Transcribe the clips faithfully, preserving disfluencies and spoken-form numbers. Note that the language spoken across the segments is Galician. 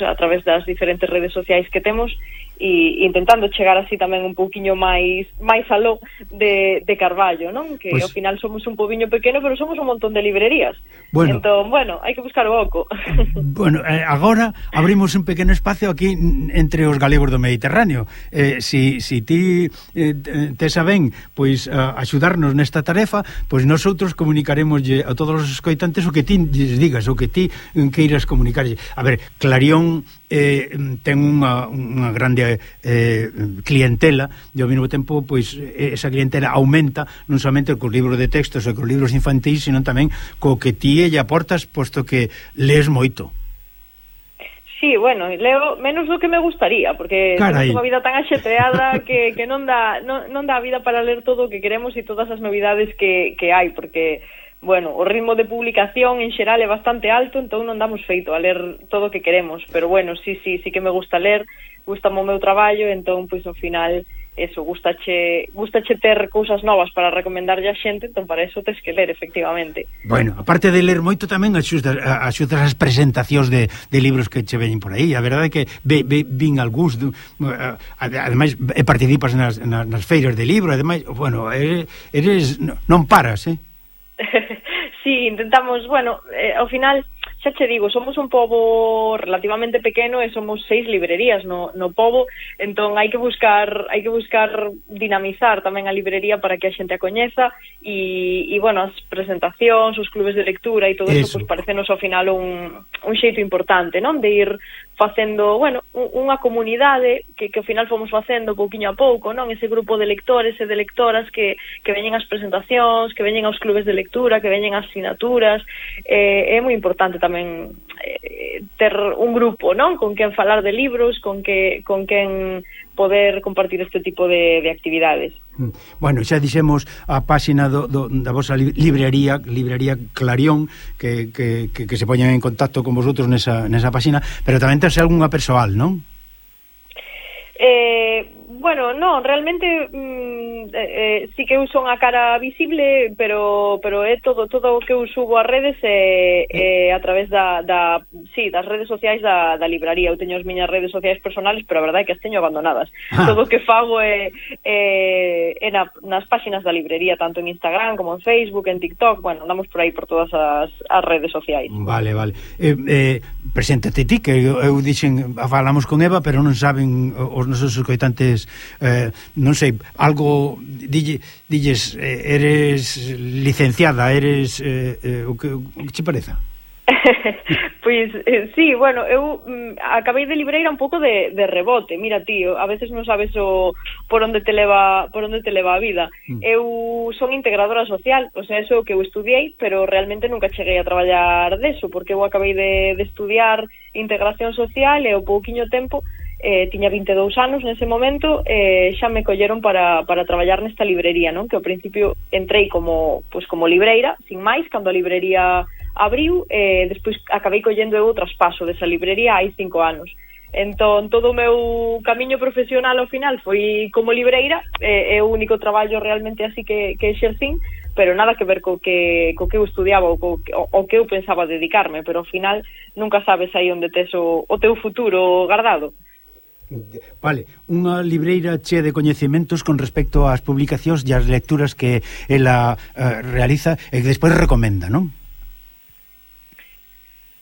a través das diferentes redes sociais que temos e intentando chegar así tamén un pouquiño máis máis aló de, de Carballo, non? Que pues, ao final somos un pobiño pequeno, pero somos un montón de librerías. Bueno, entón, bueno, hai que buscar o oco. Bueno, eh, agora abrimos un pequeno espacio aquí entre os galegos do Mediterráneo. Eh, si, si ti eh, te saben, pois uh, axudarnos nesta tarefa, pois nosotros comunicaremos a todos os escoitantes o que ti lles digas, o que ti queiras comunicarlle. A ver, Clarión eh, ten unha, unha grande eh, clientela e ao mesmo tempo pois esa clientela aumenta non somente cos libros de textos e cos libros infantís, sino tamén co que ti lle aportas, posto que lees moito. Sí, bueno, leo menos do que me gustaría, porque temos unha vida tan axetreada que, que non dá non, non dá a vida para ler todo o que queremos e todas as novidades que, que hai, porque bueno, o ritmo de publicación en xeral é bastante alto, entón non damos feito a ler todo o que queremos, pero bueno, sí, sí, sí que me gusta ler, gustame o meu traballo, entón, pois, ao final, eso, gustache, gustache ter cousas novas para recomendarlle a xente, entón, para eso tes que ler, efectivamente. Bueno, aparte de ler moito, tamén axudas, axudas as presentacións de, de libros que che veñen por aí, a verdade é que ve, ve, vin algúns, ademais, participas nas, nas feiras de libro, ademais, bueno, eres, eres non paras, eh? Sí, intentamos, bueno, eh, ao final, xa che digo, somos un pobo relativamente pequeno e somos seis librerías no, no pobo, entón hai que buscar hai que buscar dinamizar tamén a librería para que a xente a coñeza e, e bueno, as presentacións, os clubes de lectura e todo eso, pois parecenos ao final un, un xeito importante, non? De ir facendo, bueno, unha comunidade que, que ao final fomos facendo pouquiño a pouco, non? Ese grupo de lectores e de lectoras que, que veñen ás presentacións, que veñen aos clubes de lectura, que veñen ás sinaturas, eh, é moi importante tamén eh, ter un grupo, non? Con quen falar de libros, con que con quen poder compartir este tipo de, de actividades. Bueno, xa dixemos a páxina do, do, da vosa librería, librería Clarión, que, que, que, que se poñan en contacto con vosotros nesa, nesa páxina, pero tamén terse algunha persoal, non? Eh, bueno, non, realmente mm, eh, eh, sí que eu son a cara visible, pero pero é todo todo o que eu subo ás redes é, é a través da, da sí, das redes sociais da, da libraría. Eu teño as miñas redes sociais personales, pero a verdade é que as teño abandonadas. Ah. Todo o que fago é, é, é na, nas páxinas da librería, tanto en Instagram como en Facebook, en TikTok, bueno, andamos por aí por todas as, as redes sociais. Vale, vale. Eh, eh, preséntate ti, que eu, eu dixen, falamos con Eva, pero non saben os nosos escoitantes, eh, non sei, algo dille, dilles, eh, eres licenciada, eres eh, eh, o que, o que che pareza? Pois, eh, sí, bueno, eu mm, acabei de libreira un pouco de, de rebote. Mira, tío, a veces non sabes o por onde te leva por onde te leva a vida. Mm. Eu son integradora social, o sea, eso que eu estudiei, pero realmente nunca cheguei a traballar deso, porque eu acabei de, de estudiar integración social e o pouquiño tempo eh, tiña vinte e dous anos nese momento, eh, xa me colleron para, para traballar nesta librería, non? Que ao principio entrei como, pues, como libreira, sin máis, cando a librería abriu, e eh, despois acabei collendo eu o traspaso desa librería hai cinco anos. Entón, todo o meu camiño profesional ao final foi como libreira, eh, é o único traballo realmente así que, que exercín, pero nada que ver co que, co que eu estudiaba ou co, o, o que eu pensaba dedicarme, pero ao final nunca sabes aí onde tes o, o teu futuro guardado. Vale, unha libreira chea de coñecementos con respecto ás publicacións e ás lecturas que ela uh, realiza e que despois recomenda, non?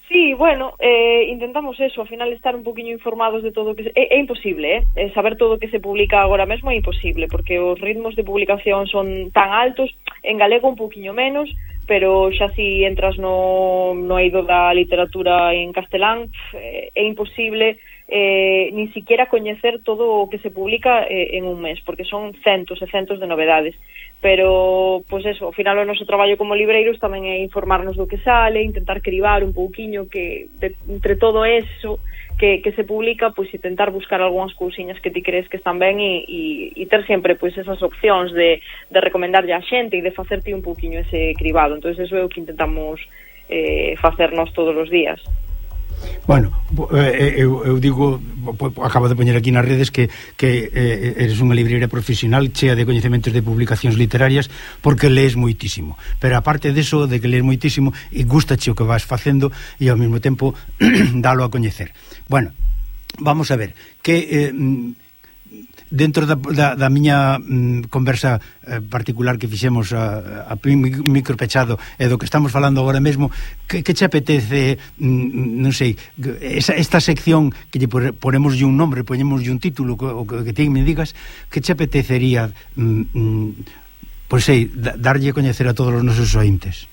Sí, bueno, eh, intentamos eso, ao final estar un poquinho informados de todo o que se... É, é imposible, eh? Saber todo o que se publica agora mesmo é imposible, porque os ritmos de publicación son tan altos, en galego un poquinho menos, pero xa si entras no, no eido da literatura en castelán, é, é imposible eh, ni siquiera coñecer todo o que se publica eh, en un mes, porque son centos e centos de novedades. Pero, pois pues eso, ao final o noso traballo como libreiros tamén é informarnos do que sale, intentar cribar un pouquiño que de, entre todo eso que, que se publica, pois pues, intentar buscar algunhas cousiñas que ti crees que están ben e, e, e ter sempre pois pues, esas opcións de, de recomendarlle a xente e de facerte un pouquiño ese cribado. Entón, eso é o que intentamos eh, facernos todos os días. Bueno, eu, eu digo, acabo de poñer aquí nas redes que, que eh, eres unha librería profesional chea de coñecementos de publicacións literarias porque lees moitísimo, pero aparte deso de que lees moitísimo e gustache o que vas facendo e ao mesmo tempo dalo a coñecer. Bueno, vamos a ver que eh, dentro da, da, da miña mm, conversa eh, particular que fixemos a, a micropechado e do que estamos falando agora mesmo, que, que che apetece, mm, non sei, esa, esta sección que lle ponemos un nombre, ponemos un título, o que, que ti me digas, que che apetecería mm, mm, pois sei, darlle a coñecer a todos os nosos ointes?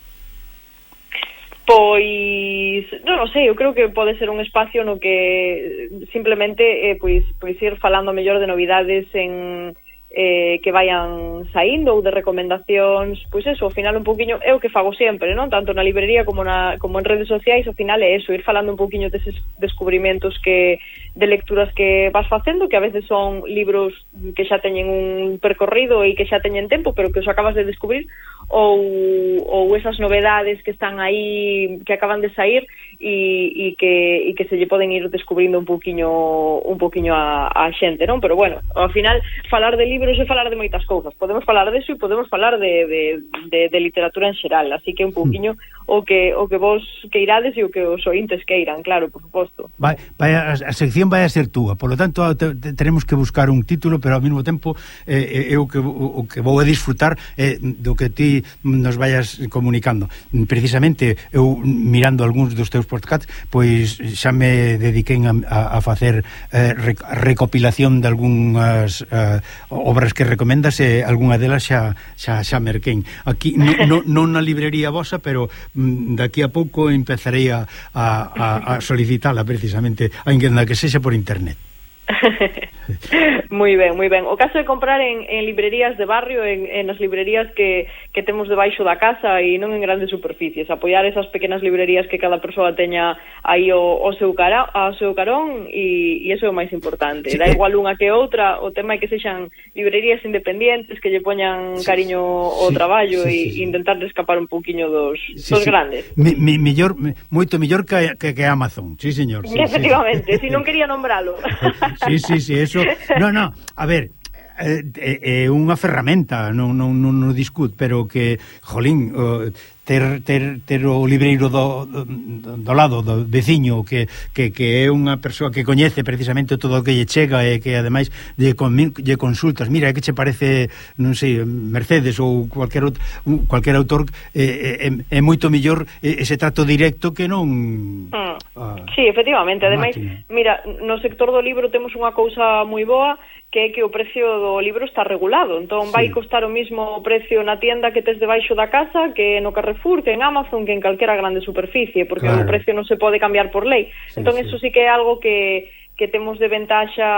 Pois, non, non sei, eu creo que pode ser un espacio no que simplemente eh, pois, pois ir falando mellor de novidades en eh, que vayan saindo ou de recomendacións, pois eso, ao final un poquinho é o que fago sempre, non? Tanto na librería como na como en redes sociais, ao final é eso, ir falando un poquinho deses descubrimentos que de lecturas que vas facendo, que a veces son libros que xa teñen un percorrido e que xa teñen tempo, pero que os acabas de descubrir, ou, ou esas novedades que están aí, que acaban de sair e, e, que, e que se lle poden ir descubrindo un poquinho un poquinho a, a xente, non? Pero bueno, ao final, falar de libros e falar de moitas cousas, podemos falar deso e podemos falar de, de, de, de literatura en xeral, así que un poquinho o que o que vos queirades e o que os ointes queiran, claro, por suposto. Vai, vai a, a sección vai a ser túa, por lo tanto te, te, tenemos que buscar un título, pero ao mesmo tempo eh, eu que, o, o que vou a disfrutar eh, do que ti nos vayas comunicando. Precisamente eu mirando algúns dos teus podcasts, pois xa me dediquei a, a, a facer eh, rec, recopilación de algunhas eh, obras que recomendas e algunha delas xa, xa, xa merquén. Aquí non no, no na librería vosa, pero mm, daqui a pouco empezarei a, a, a solicitala precisamente, aínda que sexa por internet. Moi ben, moi ben. O caso de comprar en, en librerías de barrio, en, en as librerías que, que temos debaixo da casa e non en grandes superficies, apoiar esas pequenas librerías que cada persoa teña aí o, o seu cara, o seu carón e, e iso é o máis importante. Sí, da igual unha que outra, o tema é que sexan librerías independientes que lle poñan cariño ao sí, traballo e sí, sí, intentar escapar un pouquiño dos, sí, dos sí, grandes. Mi, mi, millor, moito mellor que, que, que Amazon, sí señor. Sí, efectivamente, sí. Si non quería nombralo. Sí, sí, sí, eso. No, no, a ver, é eh, eh, unha ferramenta, non, non, non, non discut, pero que, jolín, uh, ter, ter, ter o libreiro do, do, do lado, do veciño, que, que, que é unha persoa que coñece precisamente todo o que lle chega e que ademais lle, lle consultas, mira, que che parece, non sei, Mercedes ou cualquier, outro, cualquier autor, eh, é, é moito mellor ese trato directo que non... Mm. Ah, sí, efectivamente, ademais, mira, no sector do libro temos unha cousa moi boa, que é que o precio do libro está regulado, entón vai sí, costar o mismo precio na tienda que tes debaixo da casa, que no Carrefour, que en Amazon, que en calquera grande superficie, porque claro, o precio non se pode cambiar por lei. Sí, entón, sí, eso sí que é algo que que temos de ventaxa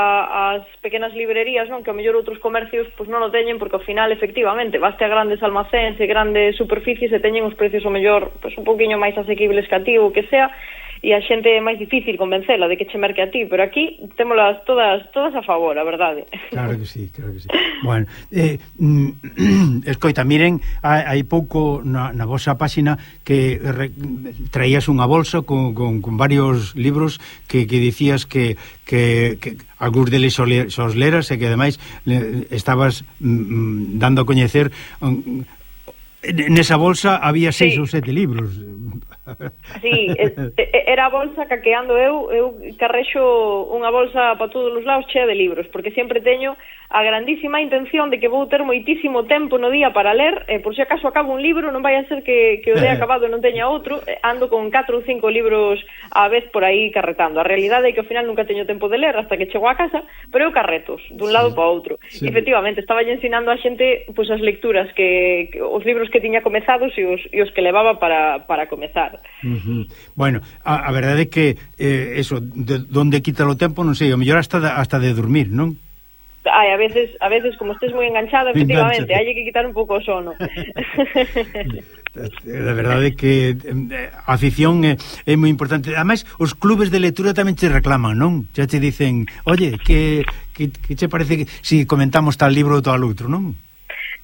as pequenas librerías, non? Que ao mellor outros comercios pois non o teñen, porque ao final, efectivamente, baste a grandes almacéns e grandes superficies e teñen os precios ao mellor pois un poquinho máis asequibles que a ti ou que sea, e a xente é máis difícil convencela de que che merque a ti, pero aquí témolas todas todas a favor, a verdade. Claro que sí, claro que sí. Bueno, eh, mm, escoita, miren, hai pouco na, na vosa páxina que re, traías unha bolsa con, con, con varios libros que, que dicías que, que, que algúns deles os leras e que ademais le, estabas mm, dando a coñecer um, nesa bolsa había seis sí, ou sete libros. Sí, era a bolsa caqueando eu, eu carrexo unha bolsa para todos os lados chea de libros, porque sempre teño a grandísima intención de que vou ter moitísimo tempo no día para ler, e por se acaso acabo un libro, non vai a ser que, que o día acabado non teña outro, ando con catro ou cinco libros á vez por aí carretando. A realidade é que ao final nunca teño tempo de ler hasta que chego a casa, pero eu carretos dun lado sí, para outro. Sí. Efectivamente, estaba ensinando a xente pois as lecturas que, que os libros que tiña comezados e os, e os que levaba para, para comezar. Uh-huh. Bueno, a, a verdade é que eh, eso, de donde quita o tempo, non sei, o mellor hasta de, hasta de dormir, non? Ai, a veces, a veces como estés moi enganchado, efectivamente, hai que quitar un pouco o sono. A verdade é que a afición é, é moi importante. Ademais, os clubes de lectura tamén te reclaman, non? Xa te dicen, oye, que, que, que che parece que si comentamos tal libro ou tal outro, non?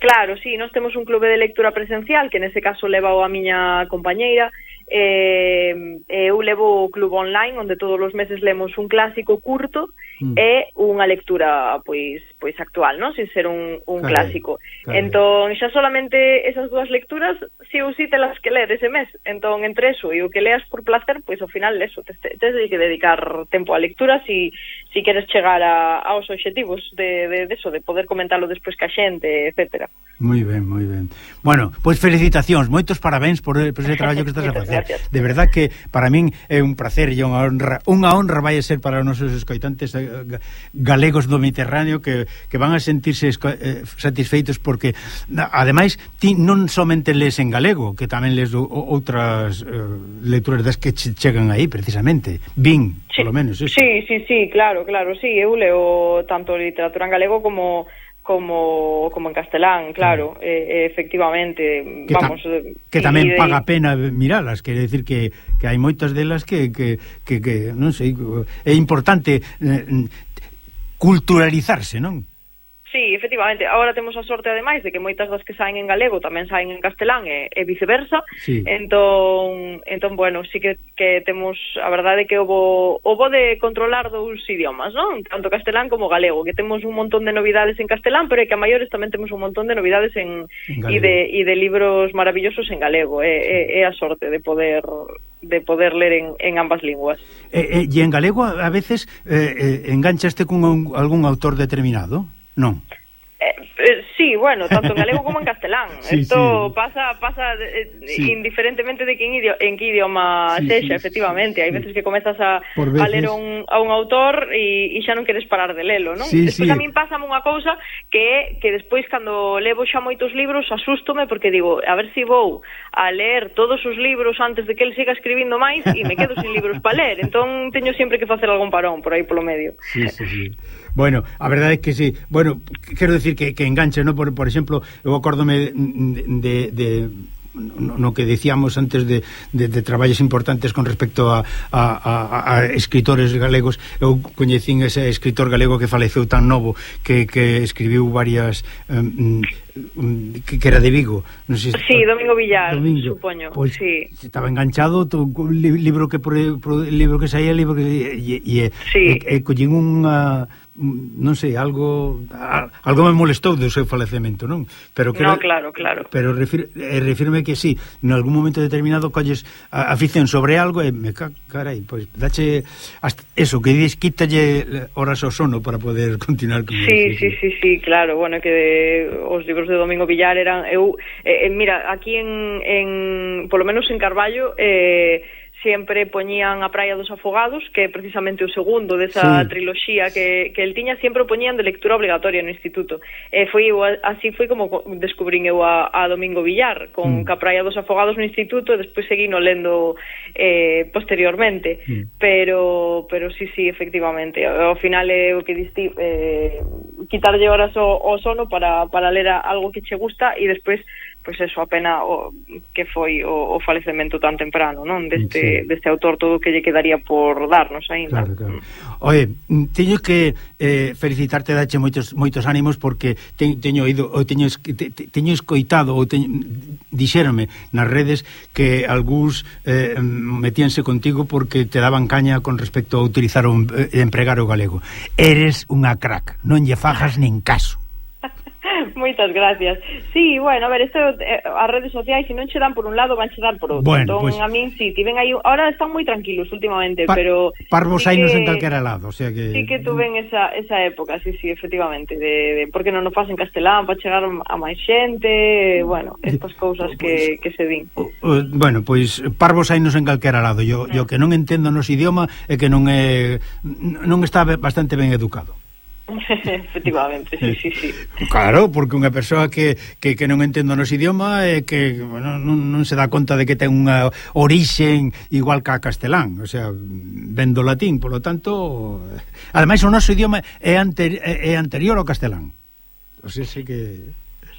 Claro, sí, nós temos un clube de lectura presencial, que nese caso leva a miña compañeira, eh, eu levo o club online onde todos os meses lemos un clásico curto mm. e unha lectura pois pois actual, non? Sin ser un, un carai, clásico. Carai. Entón, xa solamente esas dúas lecturas si ou si telas que ler ese mes. Entón, entre eso e o que leas por placer, pois ao final eso, tes te, te, te que dedicar tempo á lectura si, si queres chegar a, aos obxectivos de, de, de eso, de poder comentarlo despois ca xente, etcétera. Moi ben, moi ben. Bueno, pois felicitacións, moitos parabéns por, por ese traballo que estás a facer. Gracias. De verdad que para min é un placer e unha honra, unha honra vai a ser para os nosos escoitantes galegos do Mediterráneo que, que van a sentirse eh, satisfeitos porque, ademais, ti non somente lees en galego, que tamén lees o, outras eh, lecturas das que chegan aí, precisamente. Vin, sí, polo menos, eso. Sí, sí, sí, claro, claro, sí, eu leo tanto literatura en galego como como como en castelán, claro, sí. eh, efectivamente, que vamos, ta que tamén de... paga a pena miralas, quere decir que, que hai moitas delas que, que, que, que non sei, é importante eh, culturalizarse, non? Sí, efectivamente, agora temos a sorte ademais de que moitas das que saen en galego tamén saen en castelán e, e viceversa. Sí. Entón, entón bueno, sí que, que temos a verdade que o bo, o bo de controlar dous idiomas, non? Tanto castelán como galego, que temos un montón de novidades en castelán, pero é que a maiores tamén temos un montón de novidades en, en e de e de libros maravillosos en galego. É, é, é a sorte de poder de poder ler en, en ambas linguas. E, e, e en galego a veces eh, eh, enganchaste con un, algún autor determinado? Non. Eh, eh, sí, bueno, tanto en galego como en castelán. Sí, Esto sí. pasa pasa eh, sí. indiferentemente de que en, idioma, en que idioma sí, sexa, sí, efectivamente. Hai sí. veces que comezas a, a ler un, a un autor e, e xa non queres parar de lelo, non? Sí, despois sí. a min pásame unha cousa que é que despois cando levo xa moitos libros asústome porque digo, a ver se si vou a ler todos os libros antes de que el siga escribindo máis e me quedo sin libros para ler. Entón teño sempre que facer algún parón por aí polo medio. Sí, sí, sí. Bueno, a verdade é que sí. Bueno, quero decir que, que enganche, ¿no? Por, por exemplo, eu acórdome de, de, de no, no que decíamos antes de, de, de traballos importantes con respecto a, a, a, a escritores galegos. Eu coñecín ese escritor galego que faleceu tan novo que, que escribiu varias um, que, que era de Vigo, non sei se sí, Domingo Villar, Domingo. Supoño, pues, sí. Estaba enganchado to, libro que por, por, libro que saía, libro que e, e, sí. e, e collín unha non sei, algo algo me molestou do seu falecemento, non? Pero que no, claro, claro. Pero refir, refirme que sí, en algún momento determinado colles a, afición sobre algo e me carai, pois pues, dache hasta eso, que dis, quítalle horas ao sono para poder continuar con sí, sí, sí, sí, claro, bueno, que de, os libros de Domingo Villar eran eu, eh, mira, aquí en, en polo menos en Carballo eh, sempre poñían A Praia dos Afogados, que é precisamente o segundo desa sí. triloxía que, que el tiña, sempre o poñían de lectura obligatoria no instituto. E foi así foi como descubrín eu a, a Domingo Villar, con mm. A Praia dos Afogados no instituto, e despois seguino lendo eh, posteriormente. Mm. Pero pero sí, sí, efectivamente. Ao final é o que diste, eh, quitarlle horas ao, ao sono para, para ler algo que che gusta e despois pois eso, a pena o, que foi o, o falecemento tan temprano, non? Deste, sí. deste autor, todo o que lle quedaría por darnos aínda. Claro, claro. Oye, teño que eh, felicitarte, dache moitos moitos ánimos porque te, teño oído, ou teño, te, teño escoitado ou teño, dixérame nas redes que algúns eh, metíanse contigo porque te daban caña con respecto a utilizar o eh, empregar o galego. Eres unha crack, non lle fajas nin caso. Moitas gracias. Sí, bueno, a ver, isto, eh, as redes sociais, se non che dan por un lado, van che dar por outro. Bueno, entón, pues, a min, sí, tiven aí, ahora están moi tranquilos últimamente, pa, pero... Parvos sí ainos que, en calquera lado, o sea que... Sí que tuven esa, esa época, sí, sí, efectivamente, de, de por que non o faz en castelán, para chegar a máis xente, bueno, estas cousas que, que se din. Uh, bueno, pois, pues, parvos ainos en calquera lado. Yo, yo que non entendo nos idioma é que non é, non está bastante ben educado. Efectivamente, sí, sí, sí. Claro, porque unha persoa que, que, que non entende o noso idioma é que bueno, non, non se dá conta de que ten unha orixen igual que a castelán, o sea, ven do latín, polo tanto, ademais o noso idioma é, anter, é anterior ao castelán. O sea, sei que...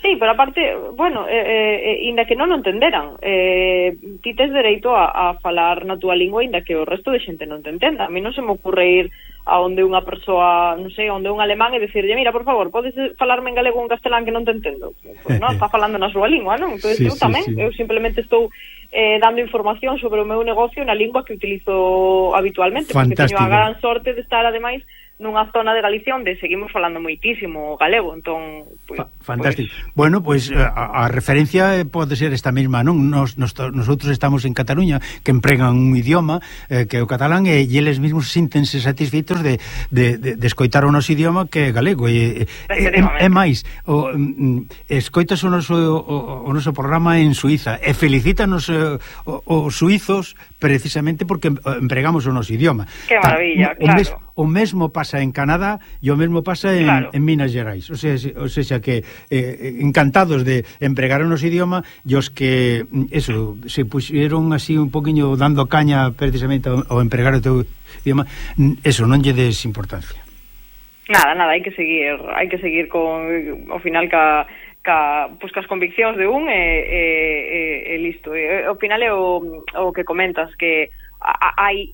Sí, pero aparte, bueno, eh, eh, inda que non o entenderan, eh, ti tes dereito a, a falar na túa lingua inda que o resto de xente non te entenda. A mí non se me ocurre ir a onde unha persoa, non sei, onde un alemán e dicirlle, mira, por favor, podes falarme en galego ou en castelán que non te entendo. Pues non, está falando na súa lingua, non? Entón, sí, eu sí, tamén, sí. eu simplemente estou eh, dando información sobre o meu negocio na lingua que utilizo habitualmente, fantástico. Porque teño a gran sorte de estar, ademais, nunha zona de Galicia onde seguimos falando moitísimo galego, entón pues, fantástico. Pues... Bueno, pois pues, a, a referencia pode ser esta mesma, non? Nos, nos, nosotros estamos en Cataluña, que empregan un idioma eh, que é o catalán, e, e eles mesmos síntense satisfeitos de, de, de, de escoitar o noso idioma que é galego, e, e, e máis o, escoitas o noso o, o noso programa en Suiza e felicítanos eh, os suizos precisamente porque empregamos o noso idioma. Que maravilla, Ta, claro. O, mes, o mesmo pasa en Canadá e o mesmo pasa en, claro. en Minas Gerais, o sea, o sea que eh, encantados de empregar o noso idioma, e os que eso, se puxeron así un poquinho dando caña precisamente ao, ao empregar o teu idioma, eso, non lle des importancia. Nada, nada, hai que seguir, hai que seguir con, ao final, ca, ca, pues, cas conviccións de un e, e, e, e listo. E, ao final é o, o que comentas, que hai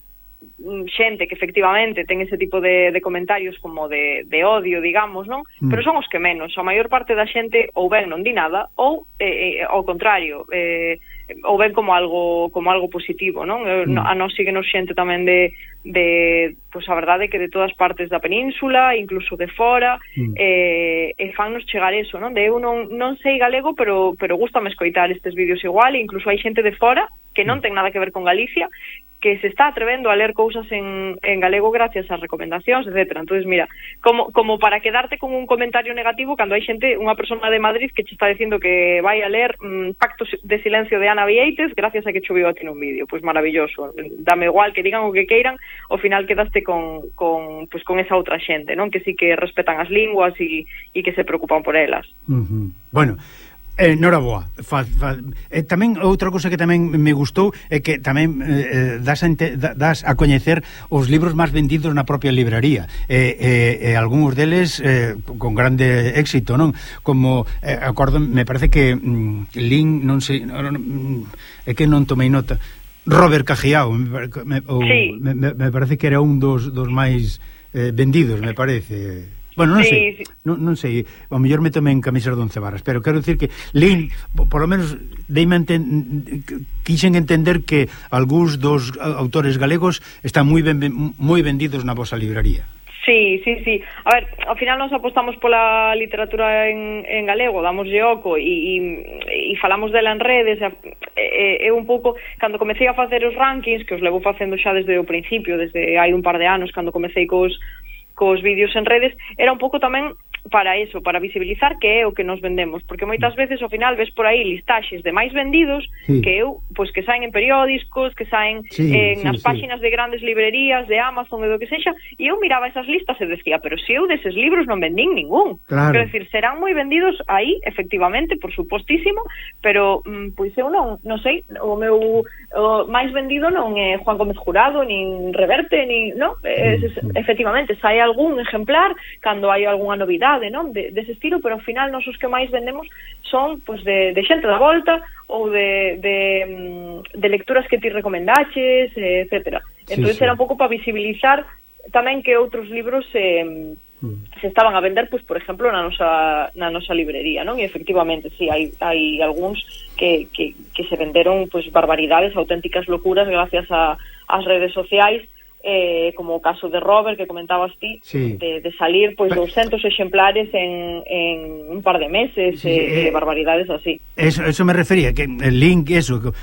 xente que efectivamente ten ese tipo de, de comentarios como de, de odio, digamos, non? Mm. Pero son os que menos. A maior parte da xente ou ben non di nada ou eh, ao contrario, eh, ou ben como algo como algo positivo, non? Mm. A nós síguenos xente tamén de de, pois a verdade é que de todas partes da península, incluso de fora, mm. eh, e fannos chegar eso, non? De eu non, non sei galego, pero pero gústame escoitar estes vídeos igual, e incluso hai xente de fora que non ten nada que ver con Galicia, que se está atrevendo a ler cousas en, en galego gracias ás recomendacións, etcétera. Entonces, mira, como, como para quedarte con un comentario negativo cando hai xente, unha persona de Madrid que che está dicindo que vai a ler mmm, Pacto de Silencio de Ana Vieites gracias a que choveu a ti nun vídeo. Pois maravilloso. Dame igual que digan o que queiran, ao final quedaste con, con, pues, con esa outra xente, non? Que sí que respetan as linguas e, e que se preocupan por elas. Uh-huh. Bueno, Eh, noraboa. Fa, fa, eh, tamén outra cousa que tamén me gustou é que tamén eh, das, a ente, das a coñecer os libros máis vendidos na propia libraría, e eh, eh, algúns deles eh, con grande éxito, non? Como eh, acordo, me parece que mm, Lin, non sei, non, non, é que non tomei nota. Robert Cajiao, me, me, ou, sí. me, me parece que era un dos, dos máis eh, vendidos, me parece. Bueno, non sí, sei, sí. Non, non sei, ao mellor me tomei en camisas de once varas, pero quero dicir que Lin, por lo menos deime enten, quixen entender que algúns dos autores galegos están moi ben, moi vendidos na vosa libraría. Sí, sí, sí. A ver, ao final nos apostamos pola literatura en, en galego, damos oco e, e, e falamos dela en redes, e, e, e un pouco, cando comecei a facer os rankings, que os levo facendo xa desde o principio, desde hai un par de anos, cando comecei cos cos vídeos en redes, era un pouco tamén para eso, para visibilizar que é o que nos vendemos, porque moitas veces ao final ves por aí listaxes de máis vendidos sí. que eu, pois que saen en periódicos, que saen sí, en sí, as sí. páxinas de grandes librerías, de Amazon, de do que sexa, e eu miraba esas listas e decía, pero se eu deses libros non vendín ningún. Claro. Quero dicir, serán moi vendidos aí, efectivamente, por supostísimo, pero mm, pois eu non, non sei, o meu o máis vendido non é Juan Gómez Jurado, nin Reverte, nin, non? É, mm. efectivamente, sai algún ejemplar cando hai algunha novidade, non? De, dese estilo, pero ao final nos os que máis vendemos son pues, de, de xente da volta ou de, de, de lecturas que ti recomendaches, etcétera. Entón, sí, sí. Era un pouco para visibilizar tamén que outros libros eh, mm. se estaban a vender, pues, por exemplo, na nosa, na nosa librería, non? E efectivamente, sí, hai, hai algúns que, que, que se venderon pues, barbaridades, auténticas locuras gracias a, ás redes sociais, eh, como o caso de Robert que comentabas ti, sí. de, de salir pois pues, doscientos exemplares en, en un par de meses, sí, eh, eh, barbaridades así. Eso, eso me refería, que el link, eso, que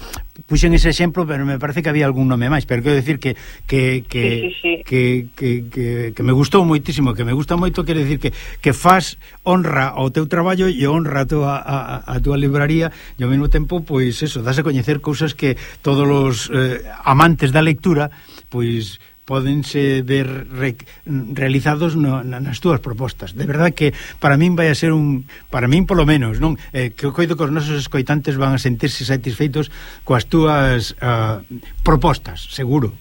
puxen ese exemplo, pero me parece que había algún nome máis, pero quero decir que que que, sí, sí, sí. que, que, que que me gustou moitísimo, que me gusta moito, quero decir que que faz honra ao teu traballo e honra a tua a, a tua libraría, e ao mesmo tempo, pois eso, das a coñecer cousas que todos os eh, amantes da lectura, pois pódense ver re, realizados no, nas túas propostas. De verdad que para min vai a ser un, para min polo menos, non? Eh, que coido que os nosos escoitantes van a sentirse satisfeitos coas túas uh, propostas, seguro.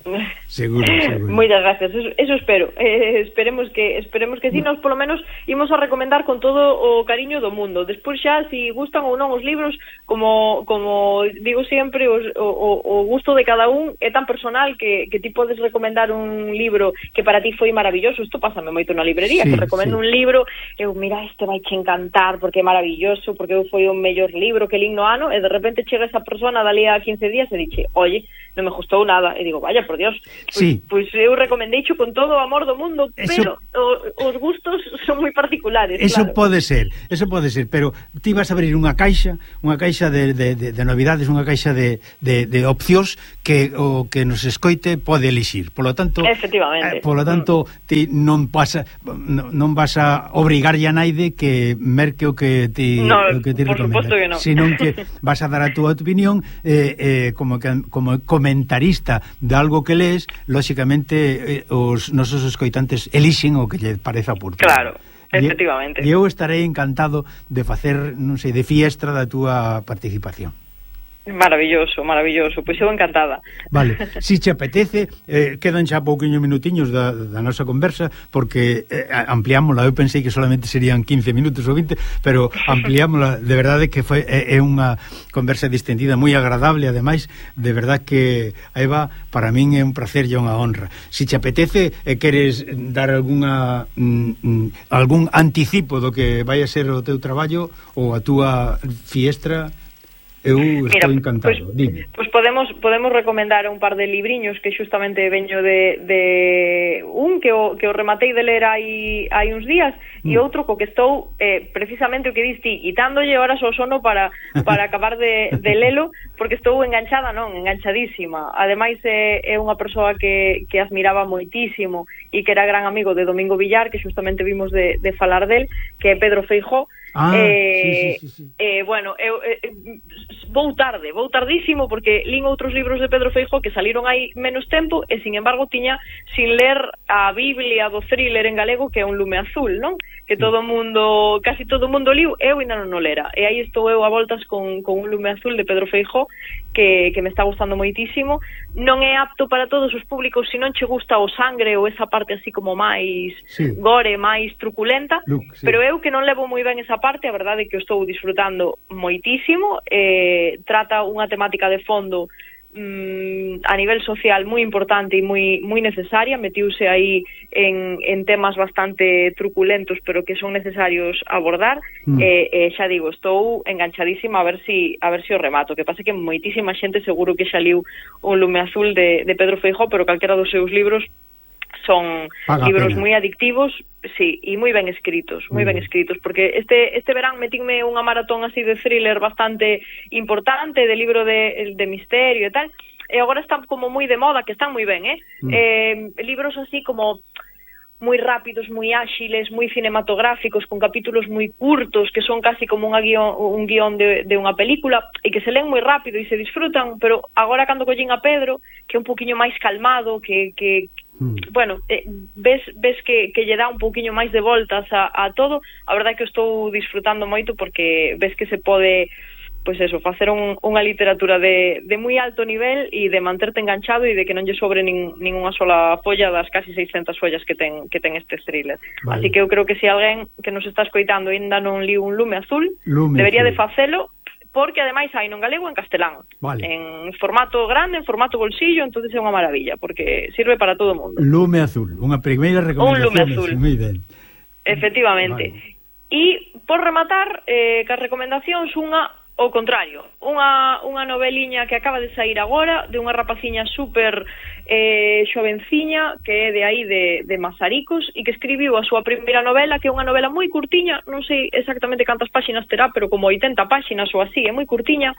Seguro, seguro. Moitas gracias, eso, eso espero. Eh, esperemos que esperemos que si, sí, nos polo menos imos a recomendar con todo o cariño do mundo. Despois xa, si gustan ou non os libros, como como digo sempre, os, o, o gusto de cada un é tan personal que, que ti podes recomendar un libro que para ti foi maravilloso. Isto pásame moito na librería, sí, que recomendo, sí, un libro, eu, mira, este vai che encantar porque é maravilloso, porque eu foi o mellor libro que lín no ano, e de repente chega esa persona dali a quince días e dixe, oye, non me gustou nada, e digo, vaya, por Dios, pois, sí, pois eu recomendeicho con todo o amor do mundo, eso, pero o, os gustos son moi particulares. Eso claro. pode ser, eso pode ser, pero ti vas a abrir unha caixa, unha caixa de, de, de, de novidades, unha caixa de, de, de opcións que o que nos escoite pode elixir. Polo tanto, efectivamente. Eh, polo tanto, ti non pasa non, non vas a obrigarlle a naide que merque o que ti no, o que ti por recomenda, suposto que no. Senón que vas a dar a túa opinión eh, eh, como que, como comentarista de algo que lees, lóxicamente eh, os nosos escoitantes elixen o que lle pareza oportuno. Claro, efectivamente. E eu estarei encantado de facer, non sei, de fiestra da túa participación. Maravilloso, maravilloso, pois eu encantada. Vale, si che apetece, eh, quedan xa pouquiños minutiños da, da nosa conversa, porque eh, ampliámola, eu pensei que solamente serían quince minutos ou vinte, pero ampliámola, de verdade que foi é, é unha conversa distendida moi agradable, ademais, de verdade que a Eva, para min é un placer e unha honra. Si che apetece e eh, queres dar alguna mm, mm, algún anticipo do que vai a ser o teu traballo ou a túa fiestra, eu estou Mira, encantado. Pois, Dime. Pois podemos podemos recomendar un par de libriños que xustamente veño de, de un que o, que o rematei de ler hai, hai uns días mm. e outro co que estou eh, precisamente o que diste, quitándolle horas ao sono para, para acabar de, de lelo, porque estou enganchada, non, enganchadísima. Ademais é, é unha persoa que, que admiraba moitísimo e que era gran amigo de Domingo Villar, que xustamente vimos de, de falar del, que é Pedro Feijó. Ah, eh, sí, sí, sí, sí. Eh, bueno, eu eh, vou tarde, vou tardísimo porque lín outros libros de Pedro Feijó que saliron hai menos tempo e, sin embargo, tiña sin ler a Biblia do thriller en galego, que é Un lume azul, non? Que todo mundo, casi todo mundo liu, eu ainda non o lera. E aí estou eu a voltas con, con Un lume azul de Pedro Feijó, que, que me está gustando moitísimo. Non é apto para todos os públicos se non che gusta o sangre ou esa parte así como máis sí. gore, máis truculenta, Look, sí. pero eu que non levo moi ben esa parte, a verdade é que o estou disfrutando moitísimo. Eh, trata unha temática de fondo mm, a nivel social moi importante e moi moi necesaria, metiuse aí en, en temas bastante truculentos, pero que son necesarios abordar. Mm. E eh, eh, xa digo, estou enganchadísima a ver si a ver si o remato, que pasa que moitísima xente seguro que xa liu Un lume azul de, de Pedro Feijó, pero calquera dos seus libros son Paga libros moi adictivos, sí, e moi ben escritos, moi ben escritos, porque este este verán metinme unha maratón así de thriller bastante importante, de libro de, de misterio e tal, e agora están como moi de moda, que están moi ben, eh? Mm. eh libros así como moi rápidos, moi áxiles, moi cinematográficos, con capítulos moi curtos, que son casi como unha guión, un guión de, de unha película, e que se leen moi rápido e se disfrutan, pero agora cando collín a Pedro, que é un poquinho máis calmado, que, que mm. bueno, eh, ves ves que, que lle dá un poquinho máis de voltas a, a todo, a verdade é que estou disfrutando moito, porque ves que se pode, pois eso, facer un, unha literatura de, de moi alto nivel e de manterte enganchado e de que non lle sobre nin, nin unha sola folla das casi seiscentas follas que ten que ten este thriller. Vale. Así que eu creo que se alguén que nos está escoitando ainda non liu Un lume azul, lume debería azul. de facelo, porque ademais hai non galego en castelán, vale. en formato grande, en formato bolsillo, entonces é unha maravilla, porque sirve para todo o mundo. Lume azul, unha primeira recomendación. Un lume azul. Moi ben. Efectivamente. Vale. E por rematar, eh, que as recomendacións unha ao contrario, unha, unha noveliña que acaba de sair agora, de unha rapaciña super eh, xovenciña, que é de aí de, de Mazaricos, e que escribiu a súa primeira novela, que é unha novela moi curtiña, non sei exactamente cantas páxinas terá, pero como oitenta páxinas ou así, é moi curtiña,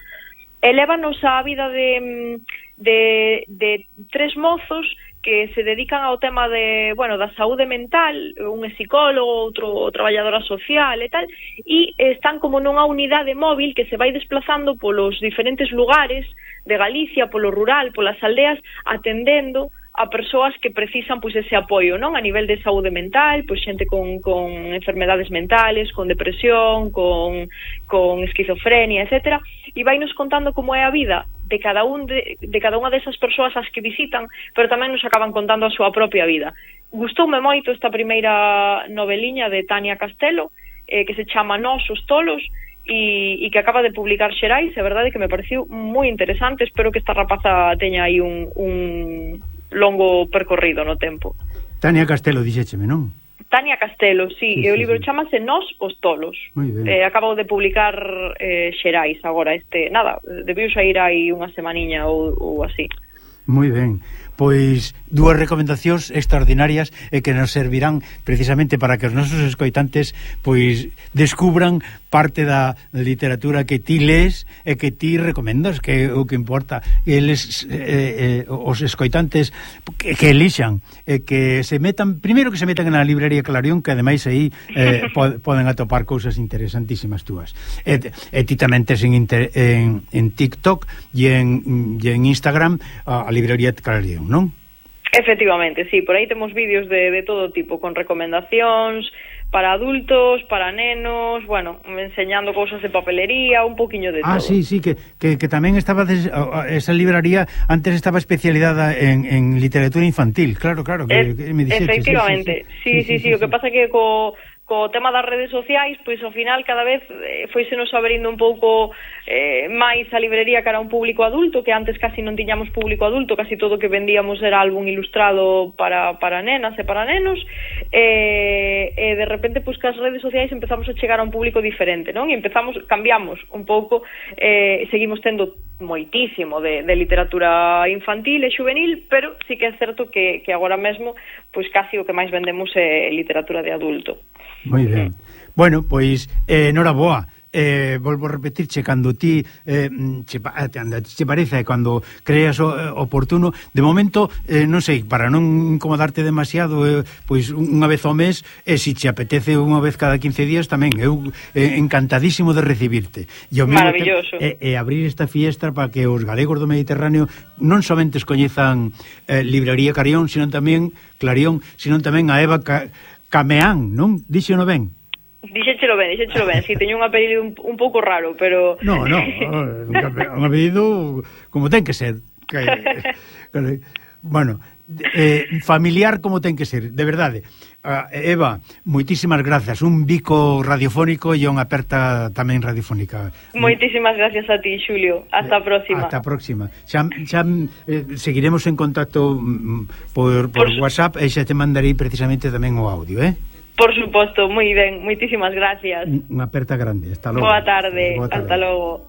e lévanos a vida de, de, de tres mozos que se dedican ao tema de, bueno, da saúde mental, un é psicólogo, outro traballadora social e tal, e están como nunha unidade móvil que se vai desplazando polos diferentes lugares de Galicia, polo rural, polas aldeas, atendendo a persoas que precisan pois ese apoio, non? A nivel de saúde mental, pois xente con, con enfermedades mentales, con depresión, con, con esquizofrenia, etcétera, e vai nos contando como é a vida de cada un de, de cada unha desas persoas as que visitan, pero tamén nos acaban contando a súa propia vida. Gustoume moito esta primeira noveliña de Tania Castelo, eh, que se chama Nós os tolos, e, e que acaba de publicar Xerais, é verdade que me pareceu moi interesante. Espero que esta rapaza teña aí un, un longo percorrido no tempo. Tania Castelo, dixécheme, non? Tania Castelo, sí, sí, e o libro sí, sí. chamase Nós os tolos. Eh, acabo de publicar eh, Xerais agora, este, nada, debiu sair aí unha semaniña ou, ou así. Moi ben. Pois dúas recomendacións extraordinarias e que nos servirán precisamente para que os nosos escoitantes pois descubran parte da literatura que ti lees e que ti recomendas, que é o que importa. Eles, eh, eh, os escoitantes que, que elixan, eh, que se metan, primeiro que se metan na librería Clarión, que ademais aí eh, pod, poden atopar cousas interesantísimas túas. E, e ti tamén tes en, en, en TikTok e en, e en Instagram a, a librería Clarión, non? Efectivamente, sí, por aí temos vídeos de, de todo tipo, con recomendacións para adultos, para nenos, bueno, enseñando cousas de papelería, un poquinho de ah, todo. Ah, sí, sí, que, que, que tamén estaba des, esa libraría antes estaba especializada en, en literatura infantil, claro, claro, que, es, que me dixeches. Efectivamente, sí, sí, sí, sí, sí, sí, sí, o que pasa que co co tema das redes sociais, pois ao final cada vez eh, foise nos abrindo un pouco eh, máis a librería cara a un público adulto, que antes casi non tiñamos público adulto, casi todo o que vendíamos era álbum ilustrado para, para nenas e para nenos, e, e de repente pois que as redes sociais empezamos a chegar a un público diferente, non? E empezamos, cambiamos un pouco, eh, seguimos tendo moitísimo de, de literatura infantil e juvenil, pero sí que é certo que, que agora mesmo pois casi o que máis vendemos é literatura de adulto. Moi ben. Mm. Bueno, pois, eh, noraboa. Eh, volvo a repetirche, cando ti eh, che, che parece, cando creas o, eh, oportuno, de momento eh, non sei, para non incomodarte demasiado, eh, pois unha vez ao mes, e se che apetece unha vez cada quince días tamén, eu eh, encantadísimo de recibirte. E maravilloso. E, e abrir esta fiestra para que os galegos do Mediterráneo non somente coñezan eh, librería Clarión, sino tamén Clarión, sino tamén a Eva Ca Cameán, non? Díxeno ben? Dixéchelo ben, dixéchelo ben, si, sí, teño un apelido un, un pouco raro, pero... No, no, un apelido como ten que ser. Que, que, bueno, eh, familiar como ten que ser, de verdade. Uh, Eva, moitísimas grazas, un bico radiofónico e unha aperta tamén radiofónica. Moitísimas gracias a ti, Xulio. Hasta a próxima. Hasta a próxima. Xa, xa eh, seguiremos en contacto mm, por, por, por WhatsApp e xa te mandarei precisamente tamén o audio, eh? Por suposto, moi ben, moitísimas gracias. Unha aperta grande, hasta logo. Boa tarde, Boa tarde. Hasta logo.